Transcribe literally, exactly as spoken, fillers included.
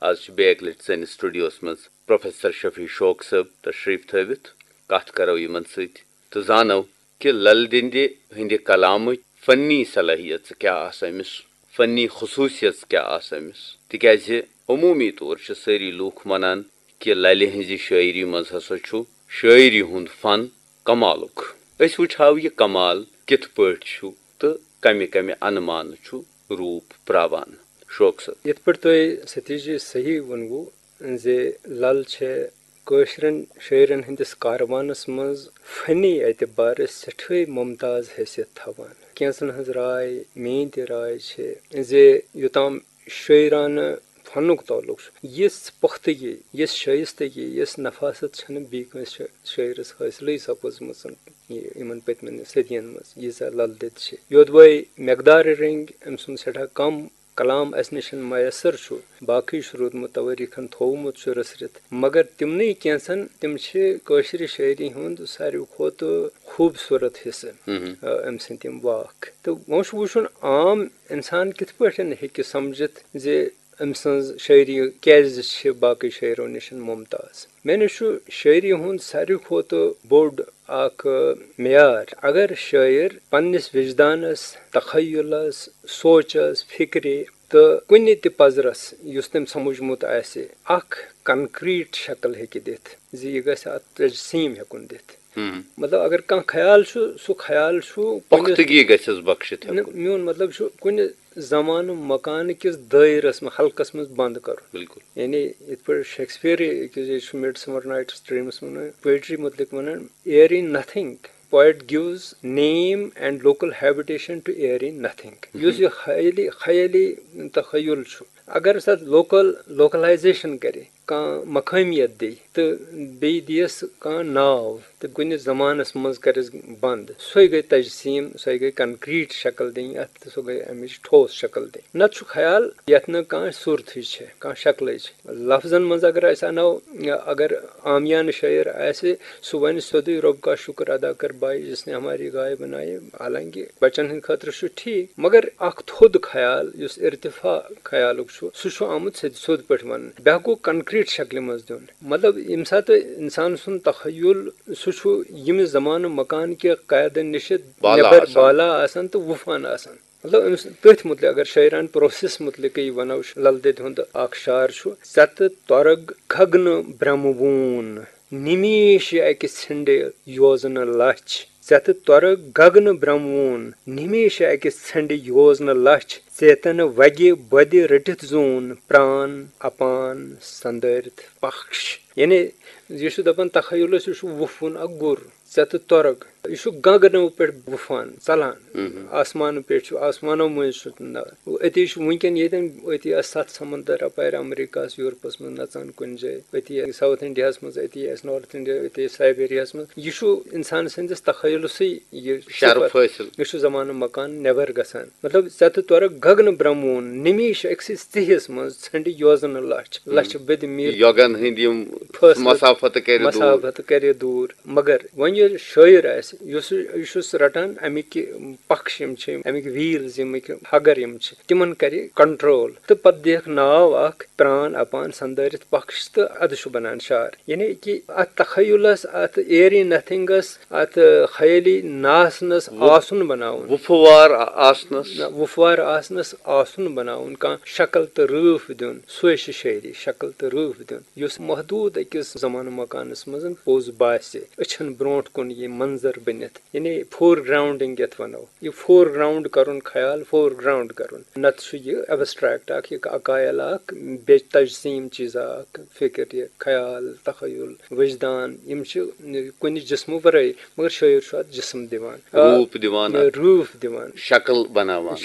آز چھِ بیٚیہِ اَکہِ لَٹہِ سٲنِس studio-ہَس منٛز پروفیسر شفیع شوق صٲب تشریٖف تھٲوِتھ۔ کَتھ کَرو یِمَن سۭتۍ تہٕ زانو کہِ لل دٮ۪دِ ہٕنٛدِ کلامٕچ فنی صلٲحیژ کیٛاہ آسہٕ أمِس، فنی خصوٗصیژ کیٛاہ آسہٕ أمِس، تِکیٛازِ عموٗمی طور چھِ سٲری لوٗکھ ونان کہِ للہِ ہٕنٛزِ شٲعری منٛز ہسا چھُ شٲعری ہُنٛد فن کمالُک۔ أسۍ وٕچھہو یہِ کمال کِتھ پٲٹھۍ چھُ تہٕ کمہِ کمہِ انمانہٕ چھُ روٗپ پراوان۔ شوق صٲب۔ یِتھ پٲٹھۍ تۄہہِ ستیش جی صحیح ووٚنوُ زِ لل چھِ کٲشرٮ۪ن شٲعرن ہٕنٛدِس کاروانس منٛز فنی اعتبارٕ سٮ۪ٹھٲے ممتاز حیثیت تھاوان۔ کینٛژن ہٕنٛز راے، میٛٲنۍ تہِ راے چھِ زِ یوٚتام شٲعرانہٕ فنُک تعلق چھُ، یِژھ پۄختگی، یِژھ شٲیستگی، یِژھ نفاست چھَنہٕ بیٚیہِ کٲنٛسہِ شٲ-، شٲعرس حٲصلٕے سپٕزمٕژ یہِ-، یِمن پٔتمٮ۪ن صدین منٛز، ییٖژاہ لل دٮ۪د چھِ۔ یوٚدوَے مقدارِ رٔنٛگۍ أمۍ سُنٛد سٮ۪ٹھاہ کم کلام اَسہِ نِش میسر چھُ، باقٕے چھُ روٗدمُت توٲریٖخن تھوومُت چھُ رٔسرِتھ، مگر تِمنٕے کینٛژن تِم چھِ کٲشرِ شٲعری ہُنٛد ساروی کھۄتہٕ خوٗبصوٗرت حصہٕ، مہم۔ آ، أمۍ سٕنٛدۍ تِم واکھ۔ تہٕ وۄنۍ چھُ وٕچھُن عام اِنسان کِتھ پٲٹھۍ ہیٚکہِ سمجھِتھ زِ أمۍ سٕنٛز شٲعری کیٛازِ چھِ باقٕے شٲعرو نِش ممتاز۔ مےٚ نِش چھُ شٲعری ہُنٛد ساروی کھۄتہٕ بوٚڑ اکھ معیار۔ اگر شٲعر پننِس وجدانس، تخیلس، سونچس، فکرِ تہٕ کُنہِ تہِ پزرس یُس تٔمۍ سمجھمُت آسہِ، اکھ concrete شکل ہیٚکہِ دِتھ زِ یہِ گژھِ اتھ تجسیٖم ہیٚکُن دِتھ۔ ہم۔ مطلب، اگر کانٛہہ خیال چھُ، سُہ خیال چھُ کُنہِ پۄختگی گژھٮ۪س بخشِتھ نہ، ہیٚکُن۔ میون مطلب چھُ کُنہِ زمانہٕ مکانہٕ کِس دٲیرس منٛز، حلقس منٛز بنٛد کرُن۔ بِلکُل۔ یعنی یِتھ پٲٹھۍ شیکسپیئر أکِس جایہِ چھُ Midsummer Night's Dreamس منٛز poetry مُتعلق ونان، "Airy nothing, poet gives name and local habitation to airy nothing." مہم۔ یُس یہِ خیٲلی، خیٲلی تخیل چھُ، اگر سۄ local، localization کرِ، کانٛہہ مقٲمیت دِیہِ تہٕ بیٚیہِ دِیَس کانٛہہ ناو تہٕ کُنہِ زمانس منٛز کرٮ۪س بنٛد، سۄے گٔے تجسیٖم، سۄے گٔے concrete شکل دِنۍ اتھ تہٕ سۄ گٔے امِچ ٹھوس شکل دِنۍ۔ نتہٕ چھُ خیال یتھ نہٕ کانٛہہ صورتھٕے چھِ، کانٛہہ شکلٕے چھِ۔ لفظن منٛز اگر أسۍ انو، اگر عامیانہٕ شٲعر آسہِ، سُہ ونہِ سیوٚدُے، "رب کا شکر ادا کر بھائی جس نے ہماری گائے بنائی"، حالانکہ بچن ہٕنٛدِ خٲطرٕ چھُ ٹھیٖک، مگر اکھ تھوٚد خیال یُس ارتفاع خیالُک چھُ، سُہ چھُ آمُت سیٚدِ سیوٚد پٲٹھۍ وننہٕ۔ بیٛاکھ گوٚو concrete شکلہِ منٛز دیُن۔ مطلب، ییٚمہِ ساتہٕ انسان سُنٛد تخیل، سُہ چھُ ییٚمہِ زمانہٕ مکان کہِ قیدن نِش بالا نٮ۪بر آسان۔ بالا آسان تہٕ وُپھان آسان۔ مطلب، أمِس تٔتھۍ مُتعلِق، اگر شٲعرانہٕ process مُتعلِقٕے ونو، لل دٮ۪دِ ہُنٛد اکھ شعر چھُ، "ژےٚ تہٕ تۄرگ گگنہٕ برٛمہٕ ووٗن، نِمیش اَکہِ ژھنٛڈِ یوزنہٕ لَچھ۔ ژےٚ تہٕ تۄرگ گگنہٕ برٛمہٕ ووٗن، نِمیش اَکہِ ژھنٛڈِ یوزنہٕ لَچھ۔ ژیتن وگہِ بۄدِ رٔٹِتھ زوٗن، پرٛان اپان سندٲرِتھ پکش۔" یعنی، یہِ چھُ دپان تخیلس، یہِ چھُ وُپھوُن اکھ گُر۔ ژےٚ تہٕ تۄرگ۔ یہِ چھُ گگنو پٮ۪ٹھ وُپھان، ژلان۔ مہم۔ آسمانہٕ پٮ۪ٹھ چھُ، آسمانو مٔنٛزۍ چھُ نہ-، أتی چھُ وٕنکٮ۪ن ییٚتٮ۪ن، أتی آسہِ ستھ سمندر اپارِ امریکہس، یورپس منٛز نژان کُنہِ جایہِ، أتی آسہِ South Indiaہس منٛز، أتی آسہِ North India، أتی آسہِ سائبیریاہس منٛز۔ یہِ چھُ انسان سٕنٛدِس تخیلسٕے یہِ شرف صفت۔ حٲصِل۔ یہِ چھُ زمانہٕ مکان نٮ۪بر گژھان۔ مطلب، ژےٚ تہٕ تۄرگ گگنہٕ برٛمہٕ ووٗن، نِمیش أکسٕے ژِہِس منٛز ژھنٛڈِ یوزنہٕ لچھ، ہم۔ لچھ بٔدِ میٖل۔ یوگن ہٕنٛدۍ یِم فٲصلہٕ، مسافت کرِ دوٗر۔ مسافت کرِ دوٗر۔ مگر وۄنۍ ییٚلہِ شٲعر آسہِ، یُس، یہِ چھُس رٹان، اَمِکۍ پکش یِم چھِ، اَمِکۍ wheels، یِمٕکۍ ہگر یِم چھِ، تِمن کرِ control تہٕ پتہٕ دِیَکھ ناو اکھ پران اپان سندٲرِتھ پکش تہٕ ادٕ چھُ بنان شعر۔ یعنی کہِ اتھ تخیلس، اتھ airy nothingس، اتھ خیٲلی نہ آسنس وُ-، آسُن بناوُن۔ وُپھوار آ-، آسنس۔ نہ، وُپھوار آسنس آسُن بناوُن، کانٛہہ شکل تہٕ رٲف دیُن، سُے چھِ شٲعری، شکل تہٕ رٲف دیُن، یُس محدوٗد أکِس زمانہٕ مکانس منٛز پوٚز باسہِ، أچھن برونٛٹھ کُن یہِ منظر بٔنِتھ۔ یعنی foregrounding یتھ ونو، یہِ foreground کرُن خیال، foreground کرُن۔ نتہٕ چھُ یہِ abstract اکھ، یہِ اکایل اکھ، بے تجسیم چیٖزا اکھ، فکر، یہِ خیال، تخیل، وجدان، یِم چھِ کُنہِ جسمہٕ ورٲے، مگر شٲعر چھُ اتھ جسم دِوان۔ روٗپ دِوان اتھ۔ روٗپ دِوان۔ شکل بناوان۔